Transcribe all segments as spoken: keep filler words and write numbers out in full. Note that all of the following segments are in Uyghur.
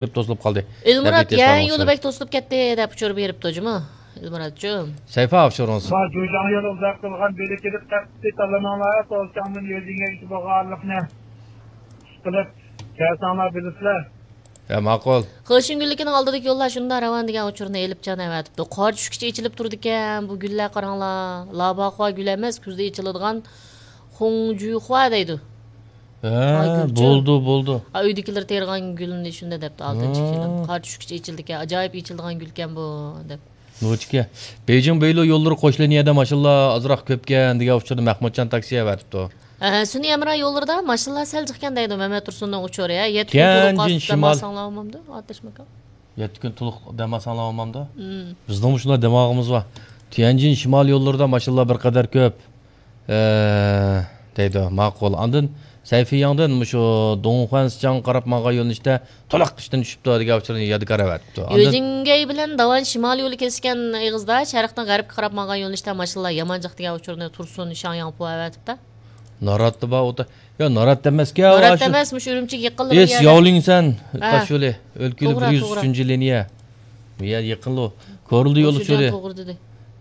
كۆپ توسۇلۇپ قالدى. ئېلمۇرات، يەر يولى بەك توسۇلۇپ كەتتى دەپ ئۇچۇر بېرىپتۇ جۇمۇ. ئېلمۇراتچۇ. سەيفا ئۇچۇرىڭىز. ما جۇجاڭ يولى ئۇزاق قىلغان بېلىكىدە قەتئىي تاللىماڭلار، توسچاڭدىن يۆجىڭگە بارغانلىقنى ئىشقىلىپ كەلسەڭلار بىلىسىلەر. ھە، ماقۇل. خېشىڭگۈللۈكىنىڭ ئالدىدىكى يوللار شۇنداق راۋان دېگەن ئۇچۇرنى ئېلىپ جان ئەۋەتىپتۇ. قار چۈشكىچە ئېچىلىپ تۇرىدىكەن بۇ گۈللەر، قاراڭلار. لاباخۇا گۈل ئەمەس، كۈزدە ئېچىلىدىغان خۇڭجۈخۇا دەيدۇ. ھە، بولدى، بولدى. ئا، ئۆيدىكىلەر تېرىغان گۈلنى شۇنداق دەپتۇ، ئالتىنچى كېلىن. قار چۈشكىچە ئېچىلىدىكەن، ئاجايىپ ئېچىلىدىغان گۈلكەن بۇ، دەپ. نوچىكە، بېيجىڭ بېيلو يوللىرى قوش لىنىيەدە ماشىنىلار ئازراق كۆپكەن دېگەن ئۇچۇرنى مەھمۇتجان تاكسى ئەۋەتىپتۇ. ھە، سۈنئىي ھەمراھ يوللىرىدا ماشىنىلار سەل جىقكەن دەيدۇ مەمەت تۇرسۇننىڭ ئۇچۇرى. ھە، يەتتە كۈن تولۇق تىيەنجىن قاستى شىمال. دەمالساڭلار بولمامدۇ، ئاتەش ماكان؟ يەتتە كۈن تولۇق دەمالساڭلار بولمامدۇ؟ مم. بىزنىڭمۇ شۇنداق دەمالغۇمىز بار. تيەنجىن شىمال يوللىرىدا ماشىنىلار بىر قەدەر كۆپ. ئە، دەيدۇ، ماقۇل. ئاندىن سەيفىياڭدىن مۇشۇ دۇڭخۇەنسىچاڭغا قاراپ ماڭغان يۆنىلىشتە تولۇق ئىشتىن چۈشۈپتۇ دېگەن ئۇچۇرنى يادىكار ئەۋەتىپتۇ. ئاندىن يۆجىڭگەي بىلەن داۋان شىمال يولى كېسىشكەن ئېغىزدا شەرقتىن غەربكە قاراپ ماڭغان يۆنىلىشتە ماشىنىلار يامان جىق دېگەن ئۇچۇرنى تۇرسۇن شاڭياڭپۇ ئەۋەتىپتۇ. ناراتتا بار ئوتا. يا، ناراتتا ئەمەسكەن، ناراتتا ئاشۇ ئەمەس، مۇشۇ ئۈرۈمچىگە يېقىنلا بىر ئېس يەردە. ياۋلىڭسەن ھە. تاش يولى، ئۆلكە يولى توغرا، بىر يۈز ئۈچىنچى لىنىيە. بۇ يەر يېقىنلۇ. كورلىدا يول توغرا، ئۇچۇرى. توغرا دېدى.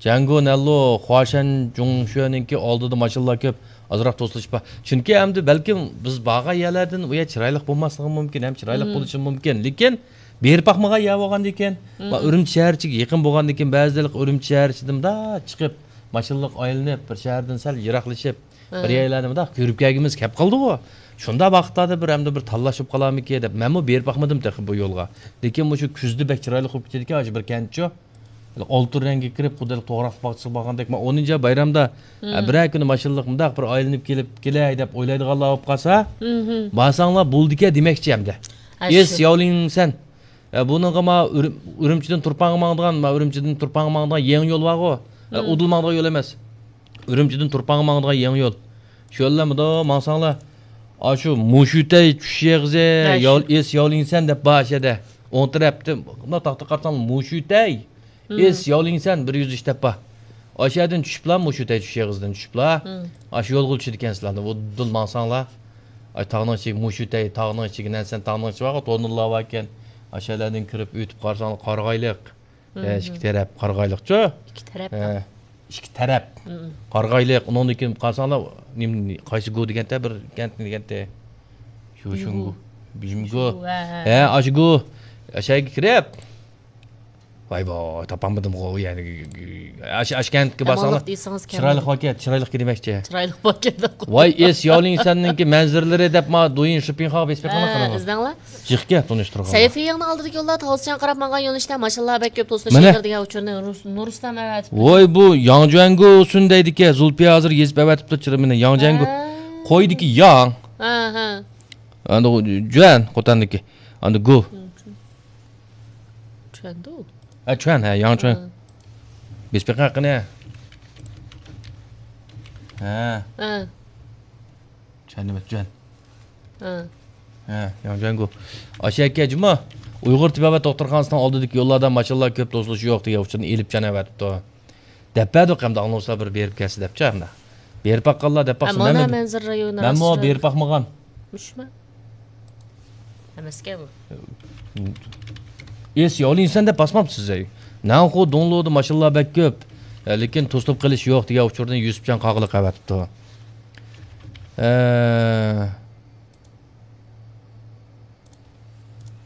جەڭگو نەنلۇ، خۇاشەن جۇڭشۈەنىڭكى ئالدىدا ماشىنىلار كۆپ، ئازراق توسۇلۇش بار. چۈنكى ئەمدى بەلكىم بىز بارغان يەرلەردىن ئۇ يەر چىرايلىق بولماسلىقى مۇمكىن، ھەم چىرايلىق مم. بولۇشى مۇمكىن. لېكىن بېرىپ باقمىغان يەر بولغاندىكىن، مم. ما ئۈرۈمچى شەھەر ئىچىگە يېقىن بولغاندىكىن، بەزىلەر ئۈرۈمچى شەھەر ئىچىدىن مۇنداق چىقىپ، ماشىنىلىق ئايلىنىپ، بىر شەھەردىن سەل يىراقلىشىپ، بىر ھە. يەرلەرنى مۇنداق كۆرۈپ كەلگۈمىز كەپ قالدىغۇ. شۇنداق ۋاقىتلاردا بىر ئەمدى بىر تاللاش بولۇپ قالارمىكىن دەپ، مەنمۇ بېرىپ باقمىدىم تېخى بۇ يولغا. لېكىن مۇشۇ كۈزدە بەك چىرايلىق بولۇپ كېتىدىكەن، ئاشۇ بىر كەنتچۇ. ئالتۇن رەڭگە كىرىپ، خۇددى توغراق باغچىسىغا بارغاندەك، مەن ئونىنچى ئاي بايرامدا، ھە، بىرەر كۈنى ماشىنىلىق مۇنداق بىر ئايلىنىپ كېلىپ كېلەي دەپ ئويلايدىغانلار بولۇپ قالسا، بارساڭلار بولىدىكەن دېمەكچى ئەمدى. ھە، ئېس شۇ. ياۋلىڭسەن. ئە، بۇنىڭغا ما ئۈرۈم-، ئۈرۈمچىدىن تۇرپانغا ماڭىدىغان، ما ئۈرۈمچىدىن تۇرپانغا ماڭىدىغان يېڭى يول بارغۇ. ئە، ئۇدۇل ماڭىدىغان يول ئەمەس. ئۈرۈمچىدىن تۇرپانغا ماڭىدىغان يېڭى يول. شۇ يوللار مۇنداق ماڭساڭلار، ئاشۇ مۇشۇتەي چۈشۈش ئېغىزى، ھە، شۇ. ياۋ-، ئېس ياۋلىڭسەن دەپ بار ئاشۇ يەردە. ئوڭ تەرەپتە مۇنداق تاختا قارىساڭلار، مۇشۇتەي، ئېس ياۋلىڭسەن بىر يۈز ئىش دەپ بار. ئاشۇ يەردىن چۈشۈپلا، مۇشۇتەي چۈشۈش ئېغىزىدىن چۈشۈپلا، ئاشۇ يولغا چۈشىدىكەنسىلەر. ئۇدۇل ماڭساڭلار، ئاي، تاغنىڭ ئىچىگە، مۇشۇتەي تاغنىڭ ئىچىگە، نەنسەن تاغنىڭ ئىچى بارغۇ، تونۇللار باركەن. ئاشۇ يەرلەردىن كىرىپ ئۆتۈپ قارىساڭلار، قارىغايلىق. ئە، ئىككى تەرەپ قارىغايلىقچۇ. ئىككى تەرەپ. ئە، ئىككى تەرەپ. قارىغايلىق. ئۇنىڭدىن كېيىن قارىساڭلار، نېمە، قايسى گۇ دېگەنتە، بىر كەنت دېگەنتە. شۇ، شۇ بىمگۇ. بىمگۇ. ھە، ھە. ھە، ئاشۇ گۇ. ئاشۇ يەرگە كىرىپ. ۋاي، ۋاي، تاپالمىدىمغۇ، يەنى، ئاشۇ، ئاشۇ كەنتكە بارساڭلار، ئامانلىق دېسىڭىز كەلمىدى. چىرايلىق باركەن، چىرايلىق دېمەكچى. چىرايلىق باركەن. ۋاي، ئېس ياۋلىڭسەننىڭكى مەنزىرىلىرى دەپ، ما، دويىن شىپىڭخاغا بېسىپ بېقىڭلار ھە، قېنىغۇ. ئىزدەڭلار. جىقكە تونۇشتۇرغان. سەيفىيىڭنىڭ ئالدىدىكى يوللار تاۋسىچياڭ قاراپ ماڭغان يۆنىلىشتە ماشىنىلار بەك كۆپ توسۇلۇش مانا. ئېغىر دېگەن ئۇچۇرنى نۇرس-، نۇرسلان ئەۋەتىپتۇ. ۋوي، بۇ ياڭجۈەنگۇ سۈن دەيدىكەن، زۇلپىيە ھازىر يېزىپ ئەۋەتىپتۇ چىرىمىنى. ياڭجۈەنگۇ. ھە. قويدىكى ياڭ. ھە، ھە. ئاندى جۈەن، قوتاندىكى. ئاندى گۇ. چۈەندۇ؟ ھە، چۈەن، ھە، ياڭچۈەن. ھە. بېسىپ بېقىڭ قېنى. ھە. ھە. چۈەن ئەمەس، جۈەن. ھە. ھە، ياڭجۈەنگۇ. ئاشۇ يەرگە جۇمۇ ئۇيغۇر تېبابەت دوختۇرخانىسىنىڭ ئالدىدىكى يوللاردا ماشىنىلار كۆپ توسۇلۇشى يوق دېگەن ئۇچۇرنى ئېلىپ جان ئەۋەتىپتۇ. دەپ بەردۇق ئەمدى ئاڭلىغۇچىلار بىر بېرىپ كەلسە دەپچۇ ئەمدى. بېرىپ باققانلار دەپ باقسۇن. مانا مەن، مەنزىرە رايونى مەنمۇ راست بېرىپ باقمىغان. مۇشۇما؟ ئەمەسكەن بۇ. ئېس ياۋلىنسەن دەپ باسماپسىز ئەي. نەنخۇ دۇڭلۇدا ماشىنىلار بەك كۆپ. ئە، لېكىن توسۇلۇپ قېلىش يوق دېگەن ئۇچۇرنى يۈسۈپجان قاغىلىق ئەۋەتىپتۇ. ئە،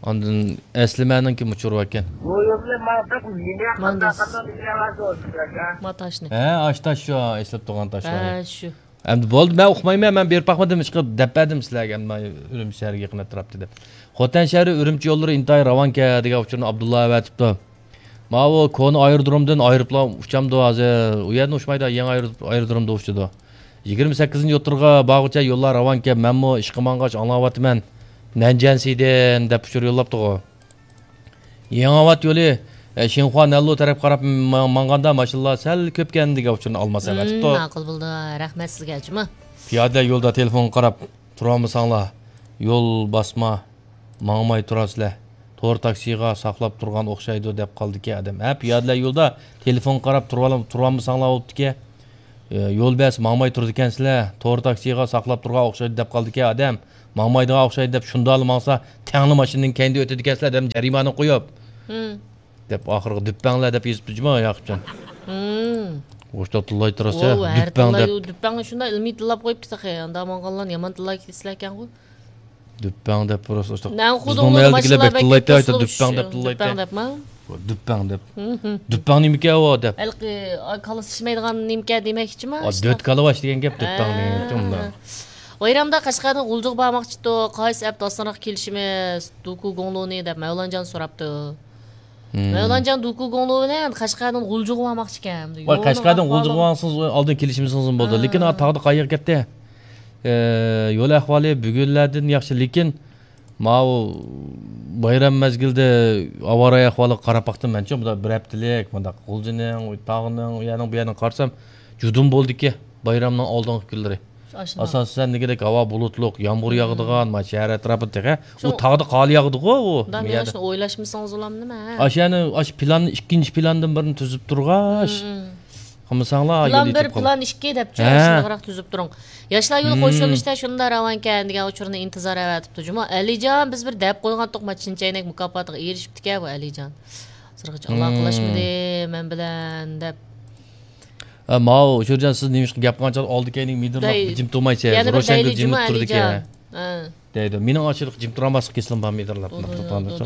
ئاندىن ئەسلىمەنىڭكى مۇچۇرى باركەن. بۇ يولنى ماڭدۇق، مېنى ماڭدۇق. قانداق قىلدىڭ؟ ھە، ئاشۇ تاش شۇ، ئېسىلىپ تۇرغان تاش شۇ. ھە، شۇ. ئەمدى بولدى، مەن ئۇقمايمەن، مەن بېرىپ باقمىدىم، ئىشقىلىپ دەپ بەردىم سىلەرگە، ئەمما ئۈرۈمچى شەھىرىگە يېقىن ئەتراپتا دەپ. خوتەن شەھىرى ئۈرۈمچى يوللىرى ئىنتايىن راۋانكەن دېگەن ئۇچۇرنى ئابدۇللا ئەۋەتىپتۇ. ماۋۇ كونا ئايرودرومدىن ئايروپىلان ئۇچامدۇ ھازىر؟ ئۇ يەردىن ئۇچمايدۇ، يېڭى ئايرو-، ئايرودرومدا ئۇچىدۇ. يىگىرمە سەككىزىنچى يوتىرغا بارغۇچە يوللار راۋانكەن، مەنمۇ ئىشقا مانغاچ ئاڭلاۋاتىمەن. نەنجيەنسىدىن دەپ ئۇچۇر يوللاپتىغۇ. يېڭىئاۋات يولى، ئە، شىنخۇا نەنلۇ تەرەپكە قاراپ ما-، ماڭغاندا ماشىنىلار سەل كۆپكەن دېگەن ئۇچۇرنى ئالماس ئەۋەتىپتۇ. ماقۇل بولدى. رەھمەت سىزگە، جۇمۇ. پىيادىلەر يولدا تېلېفونغا قاراپ تۇرالمىساڭلار، يول باسما، ماڭماي تۇرارسىلەر. تور تاكسىغا ساقلاپ تۇرغان ئوخشايدۇ دەپ قالدىكەن ئادەم. ھە، پىيادىلەر يولدا تېلېفونغا قاراپ تۇرۇۋال-، تۇرالمىساڭلار بوپتىكەن. ئە، يول بەرسە ماڭماي تۇرىدىكەنسىلەر، تور تاكسىغا ساقلاپ تۇرغان ئوخشايدۇ دەپ قالدىكەن ئادەم. ماڭمايدىغان ئوخشايدۇ دەپ شۇنداقلا ماڭسا، تەڭلا ماشىنىنىڭ كەينىدە ئۆتىدىكەنسىلەر دەپ جەرىمانە قويۇپ. دەپ ئاخىرىغا دۈپپەڭلەر دەپ يېزىپتۇ جۇما ياقۇپجان. ھىم. ئوشتا تىللاي تۇراسە، ۋوۋ، ھەر دۈپپەڭ تىللاي دەپ. دۈپپەڭ شۇنداق ئىلمىي تىللاپ قويۇپتۇ تېخى. ئاندا ماڭغانلارنى يامان تىللاپ كېتىسىلەركەنغۇ. دۈپپەڭ دەپ پۇراسا ئوشتا. نەن خۇدۇڭ بىزنىڭ مەھەللىدىكىلەر بەك تىللايتتى، ئايتا دۈپپەڭ دەپ تىللايتتى. دۈپپەڭ دەپمۇ؟ دۈپپەڭ دەپ. ھىم، ھىم. دۈپپەڭ نېمىكەن ئۇ دەپ. ھېلىقى، ئا، كاللىسى ئىشلەيدىغان نېمىكەن دېمەكچىما؟ ئا، ئاشۇنداق. دۆت كالا بار ئىشلىگەن گەپ دۈپپەڭ ھە. دېگەن گەپتۇ ئۇندا. بايرامدا قەشقەردىن غۇلجىغا بارماقچىتۇق. قايسى ئەپ ئاسانراق كېلىشىمىز؟ دۇكۇ گۇڭلۇنى دەپ مەۋلانجان سوراپتۇ. ھىم. مەۋلانجان دۇكۇ گۇڭلۇ بىلەن قەشقەردىن غۇلجىغا بارماقچىكەن. ۋاي، يولنىڭ قەشقەردىن ئەھۋالى. غۇلجىغا بارسىڭىز ئالدىن كېلىشمىسىڭىز بولىدۇ. ھە. لېكىن ئا تاغدا قايىغا كەتتى. ئە، يول ئەھۋالى بۈگۈنلەردىن ياخشى، لېكىن ماۋۇ بايرام مەزگىلىدە ھاۋا رايى ئەھۋالىغا قاراپ باقتىم مەنچۇ، بۇنداق بىر ھەپتىلىك، مۇنداق غۇلجىنىڭ، تاغنىڭ، ئۇ يەرنىڭ، بۇ يەرنىڭ قارىسام، جۇدۇن بولدىكى بايرامنىڭ ئالدىنقى كۈنلىرى. ئاشۇنداق. ئاساسەن دېگۈدەك ھاۋا بۇلۇتلۇق، يامغۇر ياغىدىغان، مانا شەھەر ئەتراپىدا تېخى. ئۇ شۇ تاغدا قار ياغىدىغۇ ئۇ. مۇ يەردە. ئاشۇنى ئويلاشمىسىڭىز بولامدىمۇ، ھە؟ ئاشۇ يەرنى، ئاشۇ پىلاننى، ئىككىنچى پىلانىدىن بىرنى تۈزۈپ تۇرغاچ. ھىم، ھىم. قىلمىساڭلار، پىلان بىر، پىلان ئىككى دەپچۇ، ھە. شۇنداقراق تۈزۈپ تۇرۇڭ. ياشلار يولى ھىم. قوشۇلۇشتا شۇنداق راۋانكەن دېگەن ئۇچۇرنى ئىنتىزار ئەۋەتىپتۇ جۇمۇ. ئەلىجان، بىز بىر دەپ قويغانتۇق، ما چىن چەينەك مۇكاپاتىغا ئېرىشىپتىكەن بۇ ئەلىجان. ھازىرغىچە ھىم. ئالاقىلاشمىدى مەن بىلەن دەپ. ئە، ماۋۇ، ئۇچۇرجان، سىز نېمىشقا گەپ قىلغان چاغدا ئالدى كەينىڭ مىدىرلاپ دەي-، جىم تۇرمايسىز، يەنە بىر روشەنگۈل دەيلى جىمىپ جۇمۇ تۇرىدىكەن. ئەلىجان. ھە. دەيدۇ. مېنىڭ ئاشۇنداق جىم تۇرالماسلىق كېسىلىم بار مىدىرلاپ، دۇدۇ، مۇنداق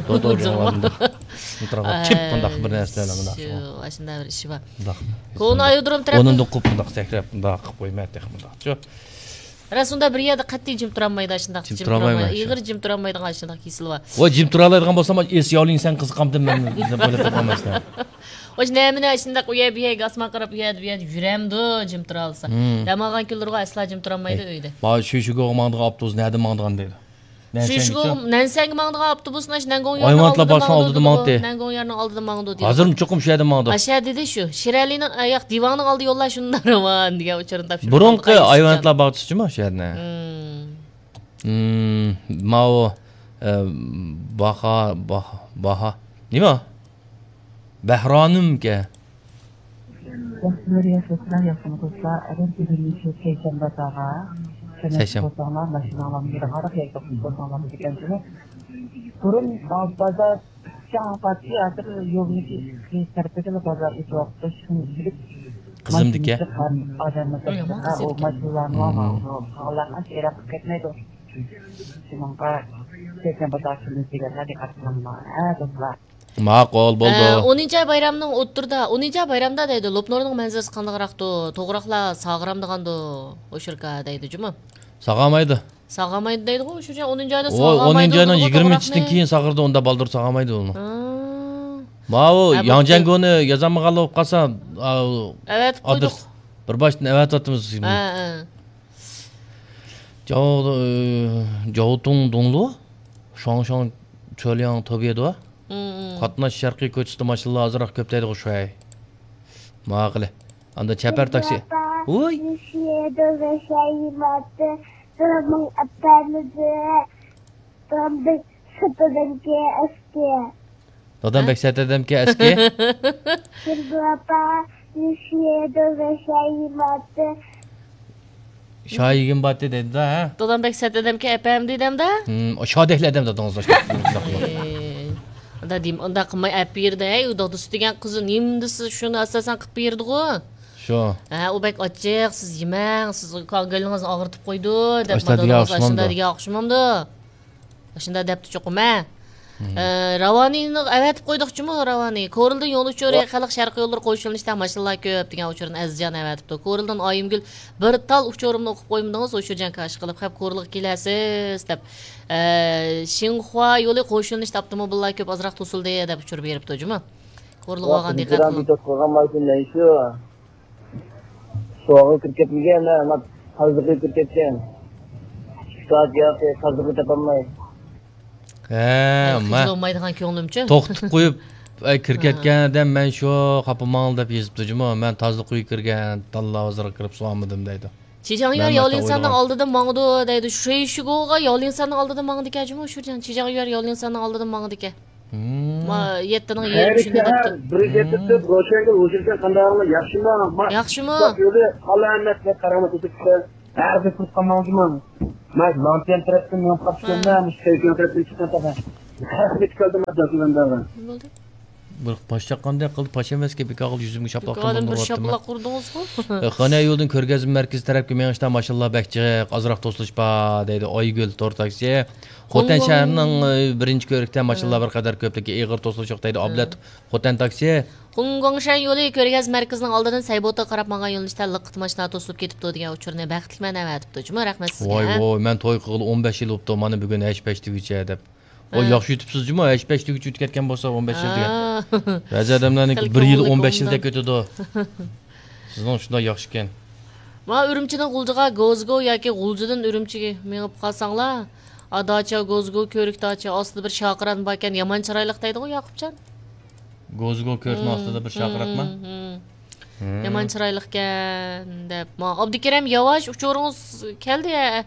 دۇدۇ، تۇرۇپ دۇدۇ. مىدىرلاپ، چىپ مۇنداق بىر نەرسىلەر مۇنداق شۇ، شۇ. ئاشۇنداق بىر ئىشى بار. مۇنداق. كونا ئايرودروم تەرەپتىن. ئورنۇمدىن قوپۇپ مۇنداق سەكرەپ، مۇنداق قىلىپ قويىمەن تېخى مۇنداق. شۇ. راست ئۇنداق بىر يەردە قەتئىي جىم تۇرالمايدۇ، ئاشۇنداق جىم جىم تۇرالمايمەن تۇرالمايدۇ. شۇ. ئېغىر جىم تۇرالمايدىغان ئاشۇنداق كېسىلى بار. ۋاي، جىم تۇرالايدىغان بولسام، ئېس ياۋلىڭسەن قىزىقامتىم مەن دەپ ئويلاپ قالمايسىلەر. ئاشۇ نەمىنە ئاشۇنداق ئۇ يەر بۇ يەرگە ئاسمان قاراپ ئۇ يەردە بۇ يەردە يۈرەمدۇ جىم تۇرالىسا. ھىم. دەم ئالغان كۈنلىرىغۇ ئەسلا جىم تۇرالمايدۇ ئەي، ئۆيدە. ما شۈشۈگوغا ماڭىدىغان ئاپتوبۇس نەدىن ماڭىدىغان دەيدۇ. نەنسەنگىچۇ؟ شۈشۈگو، نەنسەنگە ماڭىدىغان ئاپتوبۇسنى ئاشۇ نەنگوڭ يارنىڭ ئايۋانتلا ئالدىدا بارساڭ ماڭىدۇ ئالدىدا دېدىغۇ. ماڭاتتى. نەنگوڭ يارنىڭ ئالدىدا ماڭىدۇ دېدىغۇ. ھازىرمۇ چوقۇم شۇ يەردە ماڭىدۇ. ئاشۇ يەر دېدى شۇ. شىرئەلىنىڭ، ئاياق دىۋاڭنىڭ ئالدى يوللار شۇنداق راۋان دېگەن ئۇچۇرنى تاپشۇردى. بۇرۇنقى ئايۋانتلا باغچىسىچۇ ما شۇ يەرنى؟ ھىم. ھىم، ماۋۇ، ئە، باھا، باھا، باھا. نېمە؟ بەھرانىمكەن. ياخشى، ياخشى، سىلەر ياخشىمۇ دوستلار؟ ئەگەر بۈگۈن شۇ سەيشەنبە بازارغا كەلمەكچى سەيشەنبە. بولساڭلار، ماشىناڭلارنى يىغىپ ئاران يەرگە قويۇپ بولساڭلار بولىدىكەن شۇنى. بۇرۇن بازار شاڭ پاتى ھازىر يولنىڭ ئىككى تەرىپىدىلا بازار ئېچىۋاپتۇ. شۇنى بىلىپ قىزىمدىكى. ماشىنىسى قان ئادەمنى ئۇ يامان تاشلىغان، قىز ئۇ ئىكەن. ماشىنىلارنى مم. ماڭىدۇ. قالغانلار ئاشۇ يەرگە قىلىپ كەتمەيدۇ. شۇنىڭغا سەيشەنبە بازار كۈنى دېگەنلەر دىققەت قىلىڭلار. ھە، دوستلار. ماقۇل، بولدى. ئە، ئونىنچى ئاي بايرامنىڭ ئوتتۇرىدا، ئونىنچى ئاي بايرامدا دەيدۇ، لوپنۇرنىڭ مەنزىرىسى قانداقراقتۇ؟ توغراقلا ساغرامدىغاندۇ؟ ئوشۇركا دەيدۇ جۇمۇ. ساغامايدۇ. ساغامايدۇ دەيدىغۇ، ئوشۇرجان ئونىنچى ئايدا ئۇ ساغامايدۇ ئونىنچى ئاينىڭ دەيدىغۇ، يىگىرمە ئۈچىدىن توغراقنى. كېيىن ساغرىدى، ئۇندا بالدۇر ساغامايدۇ ئۇنى. ھا. ماۋۇ ھە، بوپتۇ. ياڭجياڭگونى يازالمىغانلا بولۇپ قالسا، ئا، ئەۋەتىپ ئادرېس قويدۇق. بىر باشتىن ئەۋەتىۋاتىمىز. ھە، ھە. 叫，呃، 交通东路，双向车辆特别多。 قاتناش شەرقىي كوچىسىدا ماشىنىلار ئازراق كۆپ دەيدىغۇ شۇ ھەي. ماقۇلى. ئاندا چەپەر تاكسى. ۋوي. دادام بەك سەت ئادەمكەن ئەسكى. شايىگىم باتتى دەيدۇ ھە. دادام بەك سەت ئادەمكەن ئەپەمدى دەمدە. شادەكلى ئادەم دادىڭىز. ئاي، ئۇنداق دېمە، ئۇنداق قىلماي ئەپ بېرىدۇ ھەي، ئۇ دادىسى دېگەن قىزى نېمە دېسە شۇنى ئاساسەن قىلىپ بېرىدىغۇ. شۇ. ھە، ئۇ بەك ئاچچىق، سىز يېمەڭ، سىز كۆڭلىڭىزنى ئاغرىتىپ قويىدۇ دەپ ئاشۇنداق دېگەن ئاشۇنداق ئوخشىمامدۇ؟ دېگەن ئوخشىمامدۇ؟ ئاشۇنداق دەپتۇ چوقۇم ھە. ئە، راۋانىنى ئەۋەتىپ قويدۇق جۇمۇ، راۋانى. كورلىدىن يول ئۇچۇرى، خەلق شەرقىي يوللىرى قوشۇلۇشتا ماشىنىلار كۆپ دېگەن ئۇچۇرنى ئەزىزجان ئەۋەتىپتۇ. كورلىدىن ئايىمگۈل بىر تال ئۇچۇرۇمنى ئوقۇپ قويمىدىڭىز، ئوشۇرجان كاش قىلىپ خەپ كورلىغا كېلەسىز دەپ. ئە، شىنخۇا يولى قوشۇلۇشتا ئاپتوموبىللار كۆپ، ئازراق توسۇلدى دەپ ئۇچۇر بېرىپتۇ جۇمۇ. كورلىغا ئالغان دىققەت قىلىڭ. شۇغا كىرىپ كەتمىگەن، مانا تازىلىقى كىرىپ كەتكەن. ئىككى سائەت ياقى تازىلىقى تاپالماي. ھە، مە. بولمايدىغان كۆڭلۈمچە. توختىتىپ قويۇپ، ئەي، كىرىپ كەتكەن ئادەم، مەن شۇ خاپا ماڭلا دەپ يېزىپتۇ جۇمۇ. مەن تازىلىق ئۆيگە كىرگەن، تاللا ھازىرغا كىرىپ سۇۋالمىدىم دەيدۇ. جىجاڭيۈەن ياۋلىنساننىڭ ئالدىدا ماڭىدۇ دەيدۇ. شۇيشىگوغا ياۋلىنساننىڭ ئالدىدا ماڭىدىكەن جۇمۇ، شۇجاڭ. جىجاڭيۈەن ياۋلىنساننىڭ ئالدىدا ماڭىدىكەن. ما يەتتىنىڭ يېرىمى شۇنداق دەپتۇ. بىر يەتتە روشەنگۈل ھۇزۇرجان قانداقلا ياخشىمۇ؟ ياخشىمۇ؟ يولى ئالا ئەمەت ۋە قارامەت ئۆتۈپ كېتىپ ھەرگىز قۇتقانماڭ جۇمۇ. مەن لانتيان تەرەپتىن مېڭىپ قاپتىكەنمەن، مۇشۇ سەيكىلىڭ تەرەپتىن چىققان تەپە. ھەرگىز كەلدىم مەن دەسىلەندەغا. بولدى. بىر باش چاققاندەك قىلدى، پاش ئەمەسكەن، بىكار قىلدى، يۈزۈمگە شاپىلاق قىلدى. شاپىلاق ئۇردىڭىزغۇ؟ خانە يولدىن كۆرگەزمە مەركىزى تەرەپكە مېڭىشتا ماشىنىلار بەك جىق، ئازراق توسۇلۇش بار، دەيدۇ ئايگۈل تور تاكسى. خوتەن شەھىرىنىڭ، ئى، بىرىنچى كۆرۈكتە ماشىنىلار بىر قەدەر كۆپلۈكى ئېغىر توسۇلۇش يوق دەيدۇ ئابلەت خوتەن تاكسى. خۇڭگۇاڭشەن يولى كۆرگەزمە مەركىزىنىڭ ئالدىدىن سەيبوتا قاراپ ماڭغان يۆنىلىشتە لىققىدە ماشىنا توسۇلۇپ كېتىپتۇ دېگەن ئۇچۇرنى بەختلىكمەن ئەۋەتىپتۇ جۇمۇ، رەھمەت سىزگە. ۋاي ۋاي، مەن توي قىلغىلى ئون بەش يىل بوپتۇ، مانا بۈگۈن ھەش پەش دېگۈچە دەپ. ۋاي، ياخشى يۆتۈپسىز جۇمۇ، ھەش پەش دېگۈچە ئۆتۈپ كەتكەن بولسا ئون بەش يىل دېگەن. بەزى ئادەملەرنىڭكى بىر يىل ئون بەش يىلدەك ئۆتىدۇ. سىزنىڭ شۇنداق ياخشىكەن. مانا ئۈرۈمچىدىن غۇلجىغا گوزگو ياكى غۇلجىدىن ئۈرۈمچىگە مېڭىپ قالساڭلار، ئا، داچا، گوزگو، كۆۋرۈك داچا، ئاستىدا بىر شاقىران باركەن، يامان چىرايلىق دەيدىغۇ ياقۇپجان. گوزگو كۆۋرۈكنىڭ ئاستىدا بىر شاقىراقما؟ يامان چىرايلىقكەن دەپ. ما، ئابدۇكېرەم ياۋاش، ئۇچۇرىڭىز كەلدى، ھە.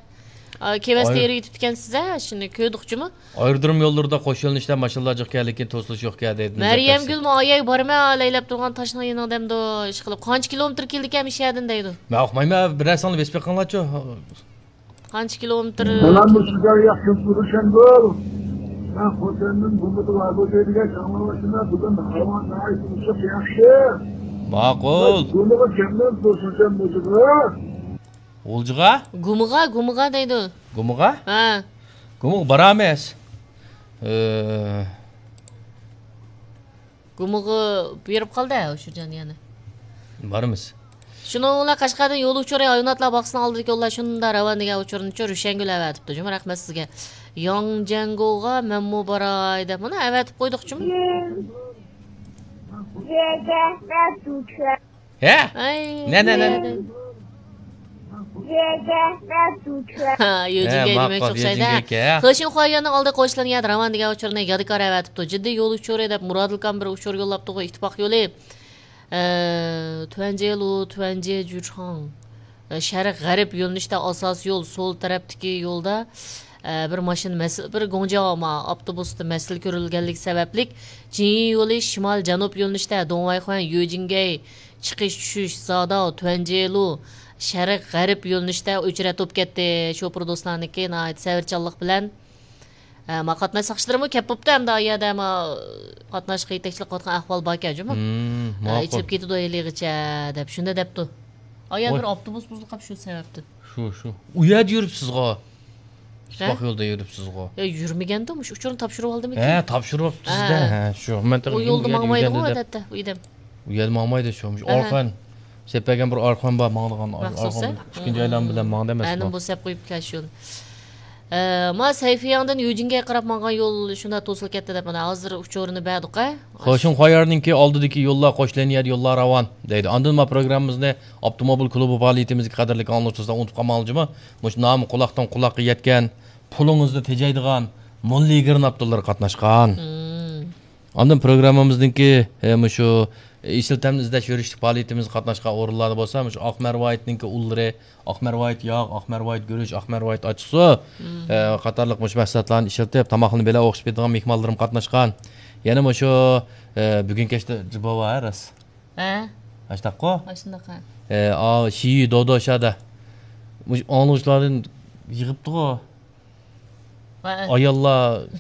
ئا، كېۋەز تېرىۋېتىپتىكەنسىز، ھە، شۇنى كۆردۇق جۇمۇ. ئايرودروم يوللىرىدا قوش يۆنىلىشتە ماشىنىلار جىق كەلدىكىن توسۇلۇش يوق كەن دەيدۇ. مەريەمگۈلمۇ ئاياي بارمەن، لەيلەپ تۇرغان تاشنىڭ يېنىڭدەمدۇ، ئىشقىلىپ. قانچە كىلومېتىر كېلدىكەن مۇشۇ يەردىن دەيدۇ. مەن ئۇقمايمەن، بىرەرسىڭلار بېسىپ بېقىڭلارچۇ. قانچە كىلومېتىر؟ سالام، مۇشۇ جاي ياخشى تۇرۇشەمدۇ؟ مەن خوتەندىن گۇمىدا ۋاگوزەيدىگە چاڭلىۋاشىمەن، بۈگۈن ھاۋا ناھايىتى ئىسسىق، ياخشى. ماقۇل. گۇمىغا كەمدىن تۇرسۇنچەم مۇشۇغا. غۇلجىغا؟ گۇمىغا، گۇمىغا دەيدۇ. گۇمىغا؟ ھە. گۇمىغا بارامىز. ئى. گۇمىغا بېرىپ قالدى، ھە، ئۇچۇرجان يەنە. بارىمىز. شۇنىڭ بىلەن قەشقەردىن يول ئۇچۇرى ھايۋاناتلار باغچىسىنىڭ ئالدىدىكى يوللار شۇنداق راۋان دېگەن ئۇچۇرنىچۇ روشەنگۈل ئەۋەتىپتۇ جۇمۇ، رەھمەت سىزگە. ياڭجياڭگوغا مەنمۇ باراي دەپ مانا ئەۋەتىپ قويدۇق جۇمۇ. ھە؟ نە، نە، نە، نە؟ ھە، يۆجىنگەي دېمەكچى ئوخشايدۇ. يۆجىنگەي. خېشىڭ خۇايياننىڭ ئالدى قوشلىنىيەدە راۋان دېگەن ئۇچۇرنى يادىكار ئەۋەتىپتۇ. جىددىي يول ئۇچۇرى دەپ مۇرادىلكام بىر ئۇچۇر يوللاپتۇغۇ، ئىتتىپاق يولى. ئە، تۈەنجېلۇ، تۈەنجې جۈرخاڭ. ئە، شەرق غەرب يۆنىلىشتە ئاساسىي يول سول تەرەپتىكى يولدا، ئە، بىر ماشىنا مەسىلە، بىر گوڭجياۋا ئاپتوبۇستا مەسىلە كۆرۈلگەنلىكى سەۋەبلىك، جىنيى يولى شىمال جەنۇب يۆنىلىشتە دوڭۋايخۇەن، يۆجىنگەي، چىقىش چۈشۈش زاداۋ، تۈەنجېلۇ، شەرق غەرب يۆنىلىشتە ئۆچرەت بولۇپ كەتتى. شوپۇر دوستلارنىڭكى ناھايىتى سەۋرچانلىق بىلەن، ھە، ما قاتناش ساقچىلىرىمۇ كەپ بوپتۇ، ئەمدى ئا يەردە ما قاتناشقا يېتەكچىلىك قىلىۋاتقان ئەھۋال باركەن جۇمۇ. ھە، ماقۇل. ئېچىلىپ كېتىدۇ ھېلىغىچە دەپ، شۇنداق دەپتۇ. ئا يەردە بىر ئاپتوبۇس بۇزۇلۇپ قاپتۇ شۇ سەۋەبتىن. شۇ، شۇ. ئۇ يەردە يۈرۈپسىزغۇ. ئىتتىپاق يولدا يۈرۈپسىزغۇ. يا، يۈرمىگەندۇ، مۇشۇ ئۇچۇرنى تاپشۇرۇۋالدىمىكىن؟ ھە، تاپشۇرۇۋاپتۇ سىزدە. ھە، شۇ. مەن ئۇ يولدا ماڭمايدىغۇ ئادەتتە ئۇ ئادەم. ئۇ يەردە ماڭمايدۇ شۇ. مۇشۇ ئارخان. سېلىپ بەرگەن بىر ئارخان بار ماڭىدىغان. ئارخان ئىككىنچى ئايلانما بىلەن ماڭدى ئەمەسمۇ؟ ئەنە بۇ سەپ قويۇپ كەل شۇنى. ئە، ما سەيفىياڭدىن يۈجىنگە قاراپ ماڭغان يول شۇنداق توسۇلۇپ كەتتى دەپ، مانا ھازىر ئۇچۇرىنى بەردۇق-ە. خوشۇڭ خايارنىڭكى ئالدىدىكى يوللار قوشلىنىيەدە يوللار راۋان دەيدۇ. ئاندىن ما پروگراممىمىزنى ئاپتوموبىل كۇلۇبى پائالىيىتىمىزدىكى قەدىرلىك ئاڭلىغۇچىلار ئۇنتۇپ قالماڭلار جۇمۇ. مۇشۇ نامى قۇلاقتىن قۇلاققا يەتكەن، پۇلىڭىزنى تېجەيدىغان موللىگىرناپتۇللار قاتناشقان. ئاندىن پروگراممىمىزنىڭكى، ئە، مۇشۇ ئېسىل تەمنى ئىزدەش يۈرۈشلۈك پائالىيىتىمىزگە قاتناشقان ئورۇنلاردا بولسا، مۇشۇ ئاق مەرۋايىتنىڭكى ئۇللىرى، ئاق مەرۋايىت ياغ، ئاق مەرۋايىت گۈرۈچ، ئاق مەرۋايىت ئاچچىقسۇ، ئە، قاتارلىق مۇشۇ مەھسۇلاتلارنى ئىشلىتىپ، تاماقلىرىنى بەلەن ئوخشىشىپ كېتىدىغان مېھمانلىرىم قاتناشقان. يەنە مۇشۇ، ئە، بۈگۈن كەچتە جىباۋا، ھە، راست؟ ھە. ئاشتاققۇ؟ ئاشۇنداق، ھە. ئە، ئا، شىيۈ دودوشادا. مۇشۇ ئاڭلىغۇچىلاردىن يىغىپتىغۇ. ۋە ئاياللار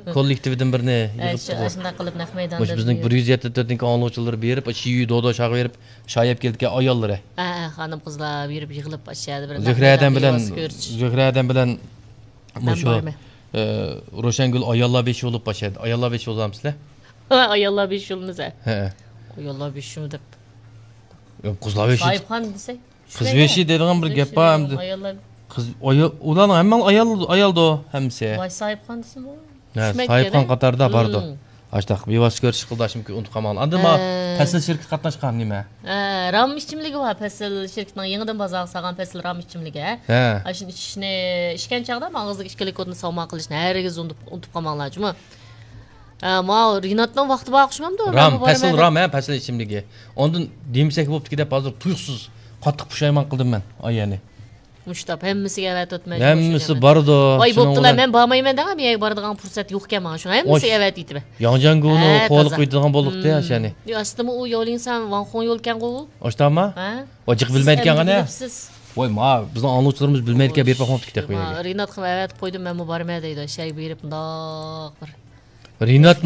كوللېكتىۋىدىن بىرنى يىغىپتىغۇ. ئاشۇنداق قىلىپ نەق مەيداندا. مۇشۇ بىزنىڭ بىر يۈز يەتتە تۆتنىڭكى ئاڭلىغۇچىلىرى بېرىپ، شىيۈ دودوشاغا بېرىپ، شايەپ كېلىدىكەن ئاياللىرى. ھە، ھە، خانىم-قىزلار بېرىپ يىغىلىپ، ئاشۇ يەردە بىر زۆھرە ئادەم بىلەن، زۆھرە ئادەم بىلەن مۇشۇ، ئە، روشەنگۈل ئاياللار بېشى بولۇپ باشلايدۇ. ئاياللار بېشى بولامسىلەر؟ ئاياللار بېشى بولىمىز، ھە. ھە. ئاياللار بېشىمۇ دەپ. ياق، قىزلار بېشى. ساھىبخان دېسەك. قىز بېشى دەيدىغان بىر گەپ بار ئەمدى. ئاياللار. قىز، ئايال، ئۇلارنىڭ ھەممىڭ ئايال، ئايالدۇ ھەممىسى. ۋاي، ساھىبخان دېسىمۇ؟ ھە، ساھىبخان قاتارىدا باردۇ. ئاشتاق بىۋاسىتە كۆرۈشۈش قىلدى، ئاشۇنىڭكى ئۇنتۇپ قالماڭلار. ئاندىن ما پەسىل شىركىتى قاتناشقان نېمە؟ ھە، رام ئىچىملىكى بار، پەسىل شىركىتىنىڭ يېڭىدىن بازارغا سالغان پەسىل رام ئىچىملىكى، ھە. ھە. ئاشۇنى ئىچىشنى، ئىچكەن چاغدا ماڭا ئىككى لىكۇرنى ساۋغا قىلىشنى ھەرگىز ئۇنتۇپ، ئۇنتۇپ قالماڭلار جۇمۇ. ھە، ماۋۇ رىناتنىڭ ۋاقتى بار ئوخشىمامدۇ؟ رام، پەسىل رام، ھە، پەسىل ئىچىملىكى. ئاندىن دېمىسەك بوپتىكى دەپ ھازىر تۇيۇقسىز قاتتىق پۇشايمان قىلدىم مەن، ئايەنى. مۇشتاپ ھەممىسىگە ئەۋەتىۋاتىمەن. ھەممىسى بارىدۇ. ۋاي، بوپتۇلا، مەن بارمايمەن دەڭ، مەن يەرگە بارىدىغان پۇرسەت يوقكەن ماڭا، شۇڭا ھەممىسىگە ئەۋەتىۋېتىمەن. ياڭجياڭگۇنى قوغلىقىپ قويىدىغان بولدۇق-تە، شەنى. ئاستىمۇ ئۇ ياۋلىڭسان ۋاڭخۇڭ يولكەنغۇ. ئاشتاما؟ ھە؟ ۋاي، جىق بىلمەيدىكەن غەنە. ۋاي، ما، بىزنىڭ ئاڭلىغۇچىلىرىمىز بىلمەيدىكەن، بېرىپ باقماپتۇ كىتاب قويمايدىكەن. رىناتقا ئەۋەتىپ قويدۇم، مەنمۇ بارىمەن دەيدۇ، شەيگە بېرىپ مۇنداق بىر. رىناتنى